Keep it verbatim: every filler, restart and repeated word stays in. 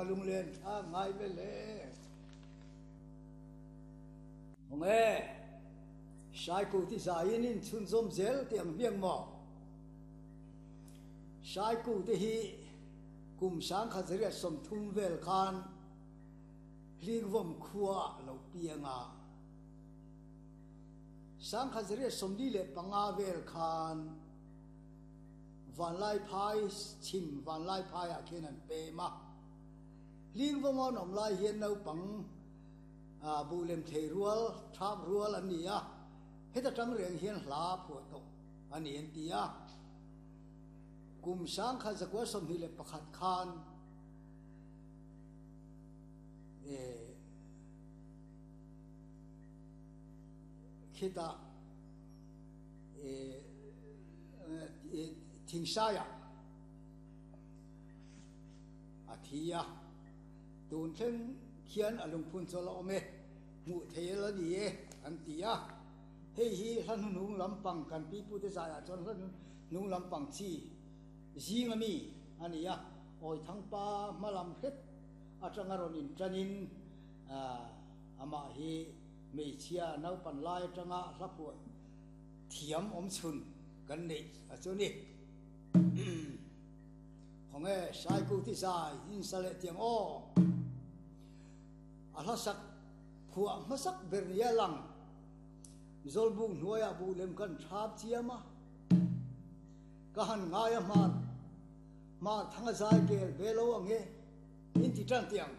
lunglen thlak ngai ve le. Hawng e, Saikuti zaiin in chhunzawm zel tih ang hmiang maw? Saikute hi kum sangkhat zariat sawmthum vel khan Hlingvawm khua lo piang a. Sangkhat zariat sawmli leh panga vel khan Vanlaiphai chhim Vanlaiphaiah khian an pem a. Hlingvawm an awm lai hian naupang buh lem thei rual, thap rual an ni a, heta tang reng hian hla phuah tawh a ni an ti a. Kum sangkhat zakua sawmhnih leh pakhat khan khitah Thingsaiah a thi a, tun thleng khian a lungphun chu a la awm e, hmuh thei a la ni e an ti a. Hei hi hla hnuhnung lampang kan pipute zaiah chuan hla hnuhnung lampang chi zinga mi a ni a, Awithangpa hma lam hret atanga rawn inṭanin amah hi hmeichhia naupan lai atanga hla phuah thiam awm chhun kan neih a chu ni. Khawnge Saikuti zai insa leh tiang aw. A hlasak phuah hmasak ber nia lang Zawlbuk hnuaiah buh lem kan thap chiam a, ka han ngai a hmar hmar thanga zai kel ve lo ang e, in ti tan tiang.